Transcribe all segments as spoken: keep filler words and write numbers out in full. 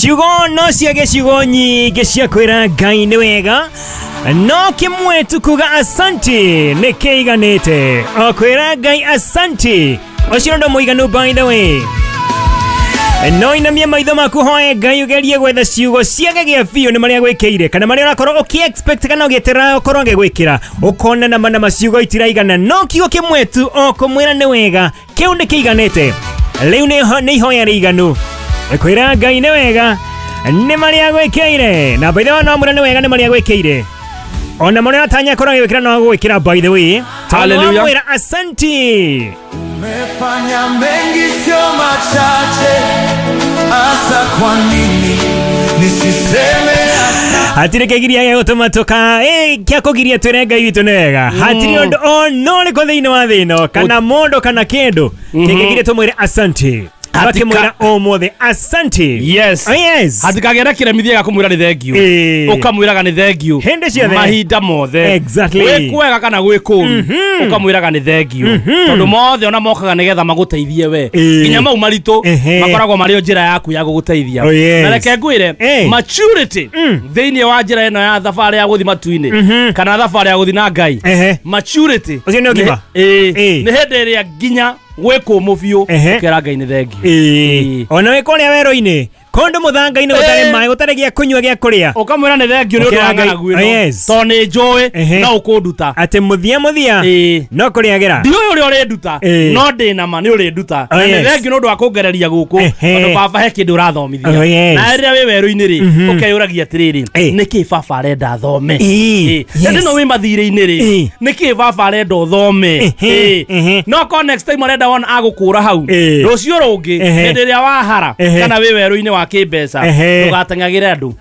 Ciugo no ciage ciugo nyingĩ cia kwĩra Ngai nĩ wega, no kĩmwe tu kuga asanti nĩ kĩiganĩte. O kwĩra Ngai asanti ũcio ndo mũiganu. By the way, no inamie maitho maku hoe Ngai ugerie gwetha ciugo ciage gĩa biũ nĩ marĩa gwĩkĩire kana marĩa ũrakorwo ũkĩ expect kana ũgĩeterera ũkorwo agĩgwĩkĩra, ũkona nama nama ciugo itiraigana, no kiugo kĩmwe tu o kũmwĩra nĩ wega kĩu nĩ kĩiganĩte. Rĩu nĩ ihoya rĩiganu kwĩra Ngai nĩ wega nĩ marĩa gwĩkĩire. Na by the way, no mwĩra nĩ wega nĩ marĩa gwĩkĩire, ona marĩa atanya korwo agĩgwĩkĩra no agũgwĩkĩra. By the way, hallelujah, mwĩra asanti. Umefanya mengi sio machache, asa kwa nini nisiseme asante? Hatirĩ kĩgiria gĩa gũtũma tũka eh kĩa kũgiria twĩre Ngai witũ nĩ wega. Hatirĩ ũndũ ona ũrĩkũ thĩinĩ wa thĩ ĩno kana mũndũ kana kĩndũ kĩngĩgiria tũmwĩre asanti. Akimwĩra ũmũthĩ asanti. Yes. Oh, yes. Hatikagera kĩremithia gĩa kũmwĩra nĩ thengiũ. Ũkamwĩraga nĩ thengiũ hĩndĩ ciothe, mahinda mothe. Exactly. Gwĩ kwega kana gwĩ kũũru, ũkamwĩraga nĩ thengiũ, tondũ mothe ona mokaga nĩgetha magũteithie we. Nginya mau maritũ makoragwo marĩ o njĩra yaku ya gũgũteithia. Na reke ngwĩre, maturity thĩinĩ wa njĩra ĩno ya thabarĩ ya gũthiĩ matu-inĩ kana thabarĩ ya gũthiĩ na Ngai, maturity ũcio nĩ ũgima. Nĩ hĩndĩ ĩrĩa nginya gwĩ kũmũ biũ ũkera Ngai nĩ thengiũ. Ona wĩ kũrĩa werũ-inĩ kũndũ mũthanga-inĩ gũtarĩ maĩ gũtarĩ gĩa kũnyua gĩa kũrĩa, ũkamwĩra nĩ thengiũ nĩ ũndũ wa ng'aragu ĩno, tondũ nĩ njũĩ no ũkũnduta. Atĩ mũthia mũthia no kũrĩagĩra, ndiũĩ ũrĩa ũrĩnduta no ndĩ na ma nĩ ũrĩnduta. Na nĩ thengiũ nĩ ũndũ wa kũngereria gũkũ, tondũ baba he kĩndũ ũrathomithia. Na rĩrĩa wĩ werũ-inĩ rĩ, ũkeyũragia atĩrĩrĩ, nĩkĩ baba arenda thome? Hĩndĩ ĩno wĩ mathirĩ-inĩ rĩ, nĩkĩ baba arenda ũthome? No ko next time arenda wona agũkũra hau rũciũ rũngĩ, hĩndĩ ĩrĩa wahara kana wĩ werũ-inĩ wa kĩmbeca, ndũgateng'agĩre andũ,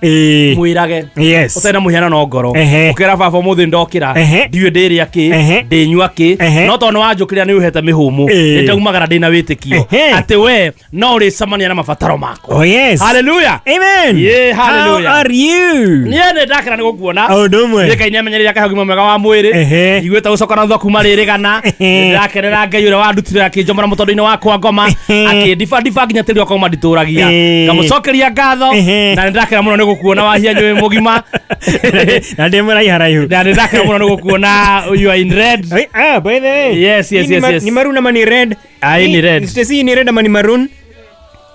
mwĩrage ũtarĩ na mũhianano ngoro, ũkera baba ũmũthĩ ndokĩra ndiũĩ ndĩrĩa kĩ ndĩnyua kĩ, no tondũ nĩwanjũkĩrĩra nĩ ũhete mĩhũmũ, nĩndaumagara ndĩna wĩtĩkio atĩ we no ũrĩcemania na mabataro makwa. Oh yes, hallelujah, amen. Yeah, hallelujah. How are you? Niĩ nĩ ndakena nĩ gũkuona. Ũndũ ũmwe. Niĩ Ngai nĩamenyereire akahe ũgima mwega wa mwĩrĩ, iguĩte gũcoka na thutha kuma rĩrĩgana. Nĩndĩrakenera Ngai ũrĩa wandutire akĩnjomora mũtondo-inĩ wakwa ngoma, akĩndibadiba nginya tĩri wakwa manditũragia, ngamũcokeria ngatho. Na nĩndakena mũno nĩ gũkuona Wahianyũ wĩ mũgima. Na ndĩ mũraiharaihu. Na nĩndakena mũno nĩ gũkuona you are in red. Ah, by the way. Yes, yes, yes, yes. Ni maroon ama ni red? Ah, ni red. Stacy, ni red ama ni maroon?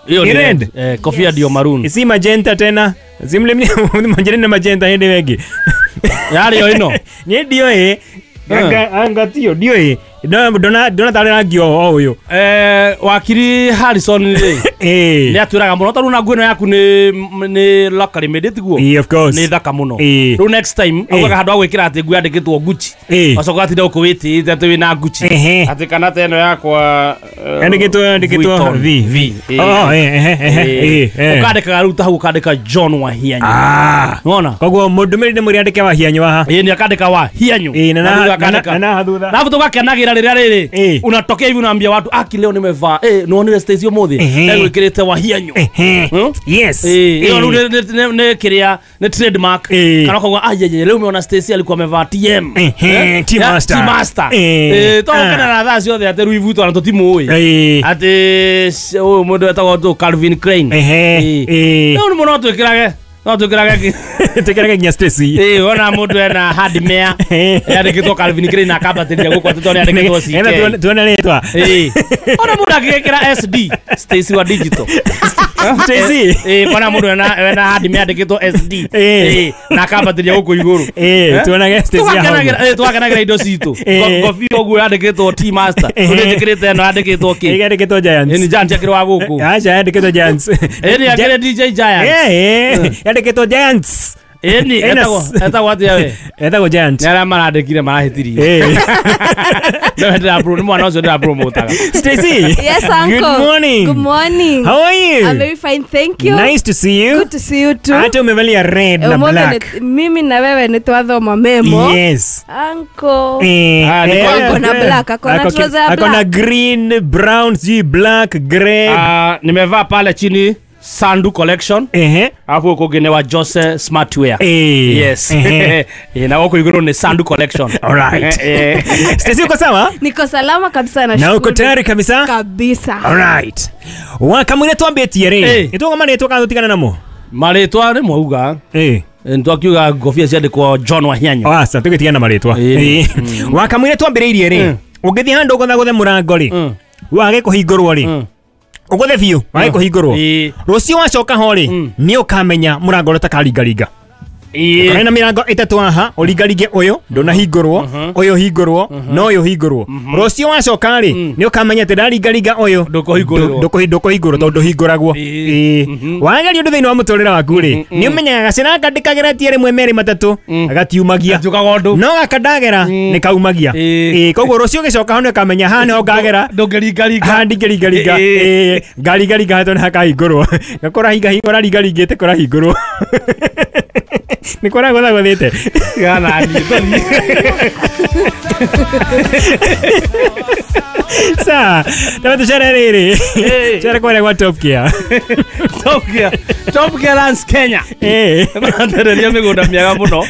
Hiyo ni red. Eh, kofia ndio maroon. Si magenta tena. Simle mni na magenta hende wengi. Yari yo ino. Ni ndio eh. Anga anga tio ndio eh. Dona dona tare rangi o uyu. Eh, wakiri Harrison rĩ. Eh. Nĩ atwĩraga mũno tondũ na nguo ĩno yaku nĩ nĩ locally made tiguo. Eh, of course. Nĩ thaka mũno. Rĩu next time augaga handũ ha gwĩkĩra atĩ nguo yandĩkĩtwo Gucci. Wacoka atinda ũkũwĩtĩte atĩ wĩna Gucci. Atĩ kana ta ĩno yakwa yandĩkĩtwo yandĩkĩtwo V V. Oh, eh eh eh. Ũkandĩkaga rĩu ta hau ũkandĩka John Wahianyũ. Ah. Nĩwona? Koguo mũndũmĩrĩri nĩ mũrĩandĩke Wahianyũ haha. Ĩĩ, nĩ akandĩka Wahianyũ. Ĩĩ, na na thutha. Na tũgakenagĩra rĩrĩa rĩrĩ unatokea hivi unaambia watu aki leo nimevaa eh nionire Stacy ũmũthĩ egwĩkĩrĩte Wahianyũ. Yes. Eh, ĩyo rĩu nĩ kĩrĩa nĩ trademark, kana ũkauga ajeje leo umeona Stacy alikuwa amevaa T M T Master. T Master. Eh, tũgũkena na thaa ciothe atĩ Louis Vuitton na tũtimũĩ atĩ ũyũ mũndũ wetagwo tũ Calvin Klein. Eh, rĩu mũno twĩkĩrage no twĩkĩrage twĩkĩrage nginya Stacy. Eh, wona mũndũ ena hardware yandĩkĩtwo Calvin Klein na akambatĩria gũkũ atĩ tondũ yandĩkĩtwo C K. Tuone rĩtwa. Eh, ona mũndũ agĩkĩra S D Stacy wa digital. Stacy. Eh, ona mũndũ ena ena hardware yandĩkĩtwo S D. Eh, na akambatĩria gũkũ igũrũ. Eh, tuonage Stacy haha. Eh, twakenagĩra indo citũ. Ngobia ũguo yandĩkĩtwo T Master. Ũrĩa ĩno yandĩkĩtwo kĩ? Yandĩkĩtwo Giants. Ni Giants yakĩrĩ wa gũkũ. Acha yandĩkĩtwo Giants. Eh, ni akĩrĩ D J Giants. Eh, yandĩkĩtwo Giants. Ĩni etagwo etagwo atĩa we? Etagwo Giant. Nĩ arĩa marandĩkire marahĩtirie. Eh. No ndĩra bro, nĩ mwana ũcio ndĩra promotaga. Stacy. Yes, uncle. Good morning. Good morning. How are you? I'm very fine, thank you. Nice to see you. Good to see you too. Hata umevalia red na black. Mimi na wewe ni twathoma memo. Yes. Uncle. Eh, ah, ako na black, ako na trouser ya black. Ako na green, brown, sijui black, grey. Ah, nimevaa pale chini Sandu Collection. Ehe. Alafu uko gene wa Jose Smartwear. Eh. Yes. Ehe. Eh, na wako igoro ni Sandu Collection. All right. Eh. Stacy, uko sawa? Niko salama kabisa na Na uko tayari kabisa? Kabisa. All right. Wakamwire twambĩtie rĩ. Eh. Nĩtũgoma rĩtwa kana tũtigane namo? Marĩtwa nĩ mwauga. Eh. Ntwakiuga ngobia ciandĩkwo John Wahianyũ. Aca tũgĩtigana marĩtwa. Wakamwire twambĩrĩirie rĩ. Ũngĩthiĩ handũ ũgũthagũthe mũrango rĩ. Wage kũhingũrwo rĩ. Ũgũthe biũ wage kũhingũrwo. Rũciũ wacoka ho rĩ nĩ ũkamenya mũrango ũrĩa ũtakaringaringa. Ĩĩ. Na mirango ĩtatũ haha ũringaringe ũyũ ndũnahingũrwo ũyũ hingũrwo na ũyũ hingũrwo. Rũciũ wacoka rĩ nĩ ũkamenya atĩ ndaringaringa ũyũ ndũkũhingũrwo ndũkũhingũrwo tondũ ndũhingũragwo. Ĩĩ. Wageria ũndũ thĩinĩ wa mũtũrĩre waku rĩ nĩ ũmenyaga gacĩra gaka ndĩkageretie rĩmwe merĩ matatũ gatiumagia no gaka ndagera nĩ kaumagia. Ĩĩ. Koguo rũciũ ũgĩcoka ho nĩ ũkamenya haha nĩho ngagera ndũngĩringaringa haha ndingĩringaringa. Ĩĩ. Ngaringaringa haha tondũ hakahingũrwo gakũrahinga ũraringaringĩte kũrahingũrwo. Nĩ kũragũthagũthĩte gana niĩ Sa, tama tucere rĩrĩ. Cere kũrĩa gwa Top Gear. Top Gear. Top Gear Lands Kenya. Eh. Marandereria mĩgũnda mĩega mũno.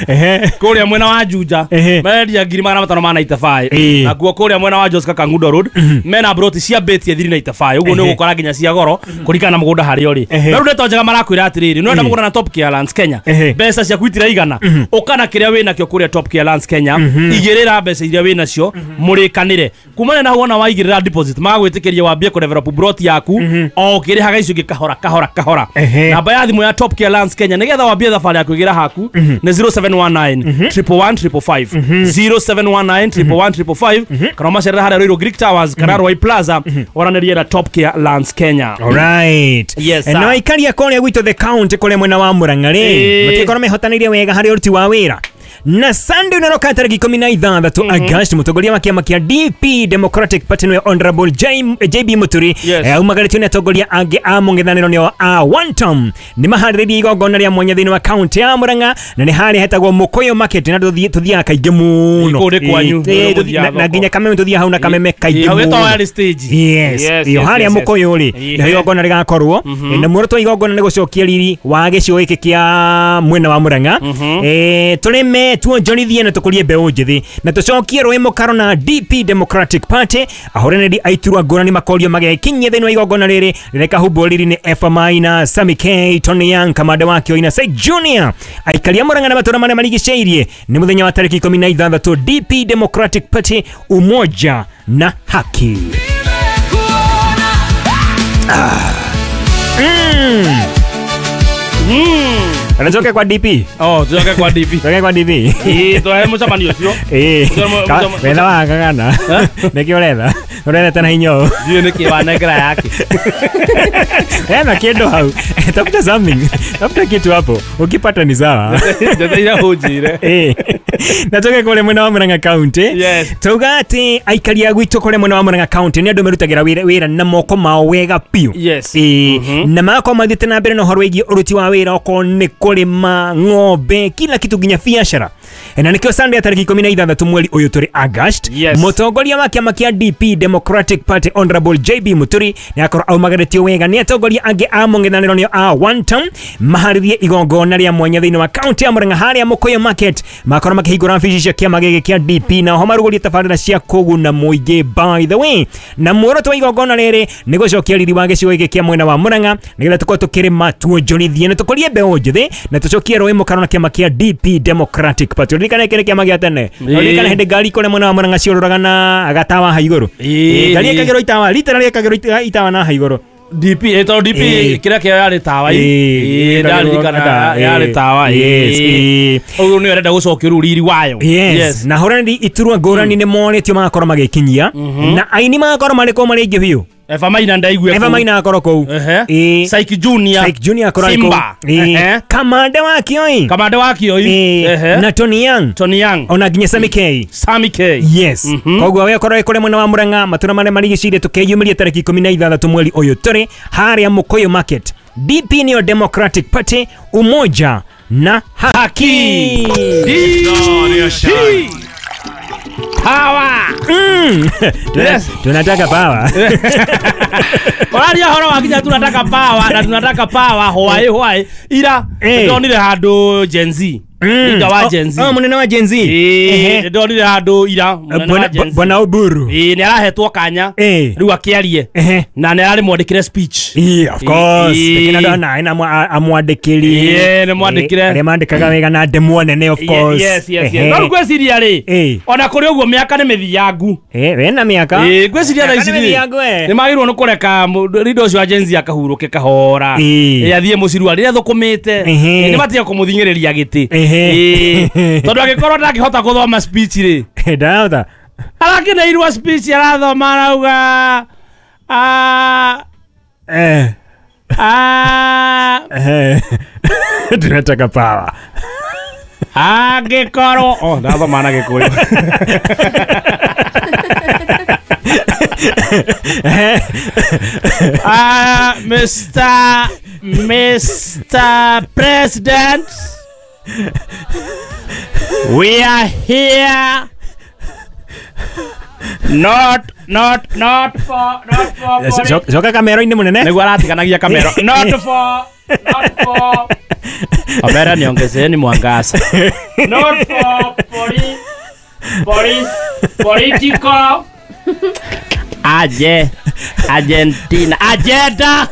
Kũrĩa mwena wa Juja marendia ngiri magana matano ma ninety-five. Nakuo kũrĩa mwena wa Joska Kangundo Road mena broti cia beti three ninety-five. Ũguo nĩ ũgũkora nginya cia goro kũringana na mũgũnda harĩa ũrĩ. Na rĩu ndeto njega marakwĩra atĩrĩrĩ, nĩ ũrenda mũgũnda na Top Gear Lands Kenya. Mbeca ciaku itiraigana. Ũkana kĩrĩa wĩnakĩo kũrĩa Top Gear Lands Kenya, igĩrĩra mbeca iria wĩnacio mũrĩkanĩre. Kumana na wona waigĩrĩra deposit magwĩtĩkĩria wambie kũ develop broti yaku o ũkĩrĩhaga icio ingĩ kahora kahora kahora. Namba ya thimũ ya Top Gear Lands Kenya nĩgetha wambie thabarĩ ya kwĩgĩra haku nĩ zero seven one nine triple one triple five zero seven one nine triple one triple five kana macerera harĩa Ruiru Greek Towers kana Ruai Plaza waranĩrie na Top Gear Lands Kenya. Alright. Yes, na aikaria kũrĩa gwitũ the county kũrĩa mwena wa Murang'a rĩ matikorwo mehotanĩirie wega harĩ ũruti wa wĩra. Na Sunday unaroka tariki ikũmi na ithathatũ August mũtongoria wa kĩama kĩa D P Democratic Party nĩwe Honorable J B Muturi aumagarĩtio nĩ atongoria angĩ a mũng'ethanĩro nĩo a one term nĩ maharĩrĩirie igongona rĩa mwanya thĩinĩ wa county ya Murang'a na nĩ harĩa hetagwo Mũkũyũ Market na tũthiaga kaingĩ mũno na nginya Kameme tũthiaga hau na Kameme kaingĩ mũno. Yes, iyo harĩa Mũkũyũ rĩ nĩho igongona rĩgakorwo na muoroto wa igongona nĩ gũcokia riri wa gĩcigo gĩkĩ kĩa mwena wa Murang'a tũrĩme tuonjorithie na tukurie mbeũ njĩthĩ na tũcokie rũĩ mũkaro na D P Democratic Party ahũranĩri aiturwa ngũrani makorio magekinyia thĩinĩ wa igongona rĩrĩ rĩrekahumbwo riri nĩ Efa Maina, Sammy K, Tony Young, Kamande wa Kĩoina, Said Junior aikaria Murang'a na matũra marĩa marigicĩirie nĩ mũthenya wa tarĩki ikũmi na ithathatũ D P Democratic Party umoja na haki. Ah. Mm. Mm. Anachoke kwa D P. Oh, tuchoke kwa D P. Tuchoke kwa D P. Eh, twahe mũcemanio ũcio. Eh. Wetha wa kagana. Nĩkĩ ũretha? Ũretha na hinyo. Ndiũĩ nĩkĩ wanengera yake. Ena kĩndũ hau. Tafuta something. Tafuta kitu hapo. Ukipata ni sawa. Njeteire ũnjĩre. Eh. Na tuke kũrĩa mwena wa Murang'a County. Yes. Tuga atĩ aikari a gwitũ kũrĩa mwena wa Murang'a County nĩ andũ merutagĩra wĩra wĩra na moko mao wega biũ. Yes. Eh. Na magakorwo mathiĩte na mbere na ũhoro wĩgiĩ ũruti wa wĩra okorwo nĩ kũrĩma ng'ombe kila kitu nginya biacara. Na nĩkĩo Sunday tarĩki ikũmi na ithathatũ mweri ũyũ tũrĩ August mũtongoria wa kĩama kĩa D P Democratic Party Honorable J B Muturi nĩ akorwo aumagarĩtio wega nĩ atongoria angĩ a mũng'ethanĩro nĩo a one term maharĩrie igongona rĩa mwanya thĩinĩ wa county ya Murang'a harĩa Mũkũyũ Market makorwo makĩhingũra wabici cia kĩama gĩkĩ kĩa D P na oho marugũrie tabarĩra cia kũguna mũingĩ by the way. Na muoroto wa igongona rĩrĩ nĩ gũcokia riri wa gĩcigo gĩkĩ kĩa mwena wa Murang'a nĩgetha tũkorwo tũkĩrĩma tuonjorithie na tũkũrie mbeũ njĩthĩ na tũcokie rũĩ mũkaro na kĩama kĩa D P Democratic Party. Ũririkane kĩrĩ kĩama gĩa tene. Ũririkane hĩndĩ ngari kũrĩa mwena wa Murang'a ciũrũraga na gatawa ha igũrũ. Ngari ĩkagĩrwo itawa literally ĩkagĩrwo itawa na ha igũrũ. D P eh D P kĩrĩa kĩa yarĩ tawa ĩ ndaririkana yarĩ tawa yes ũguo nĩ ũrenda gũcokia rĩu riri wayo. Yes. Na hũranĩri iturwa ngũrani nĩ monetio magakorwo magĩkinyia na aini magakorwo marĩ kũu marĩ aingĩ biũ. Eva Maina ndaigue Eva Maina akorwo kũu. Ehe. Saiki Junior. Saiki Junior akorwo kũu. Simba. Ehe. Kamande wa Kioi. Kamande wa Kioi. Ehe. Na Tony Young. Tony Young. Ona nginya Sammy K. Sammy K. Yes. Koguo we akorwo kũrĩa mwena wa Murang'a matũra marĩa marigicĩirie tũkeyumĩrie tarĩki ikũmi na ithathatũ mweri ũyũ tũrĩ harĩa Mũkũyũ Market. D P nĩyo Democratic Party umoja na haki. D Power. Mm. Yes. Tunataka power. Oraria horo wa kinya tunataka power na tunataka power hwae hwae ira ndonire handu Gen Z. Leader wa Gen Z. Oh, munene wa Gen Z. Eh, ndonire handu ira munene wa Gen Z. Bwana Oburu. Eh, ni arahetwo kanya. Riu akiarie. Na ni arari mwandikire speech. Eh, of course. Tekina ndona ina amwandikiri. Eh, ni mwandikire. Aria mandikaga wega na ndemwo nene of course. Yes, yes, yes. No ngweciria ri. Ona kuri uguo miaka ni mithiangu. Eh, wena miaka. Eh, ngweciria thaa ici ni magirwo ni kureka leader ucio wa Gen Z akahuruke kahora. Eh, athie muciru aria thukumite. Ni matige kumuthingiriria giti. Eh, tondu angikorwo ndangihota kuthoma speech ri. Ndahota. Arakineirwo speech arathoma arauga ah eh ah eh tunataka power. Angikorwo oh ndathoma na Gikuyu. Ah, Mister Mister President, we are here not not not for not for Coka kamero-inĩ munene niguo aratiganagia kamero not for not for Omera niongezeni mwangaza not for poli police political aje Argentina agenda.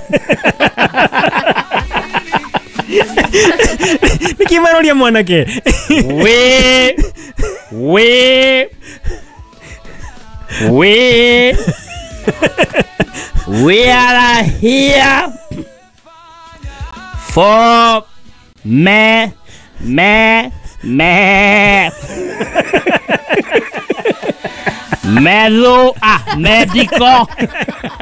Nikimaroria mwanake. We we we we are here for me me me medo ah medical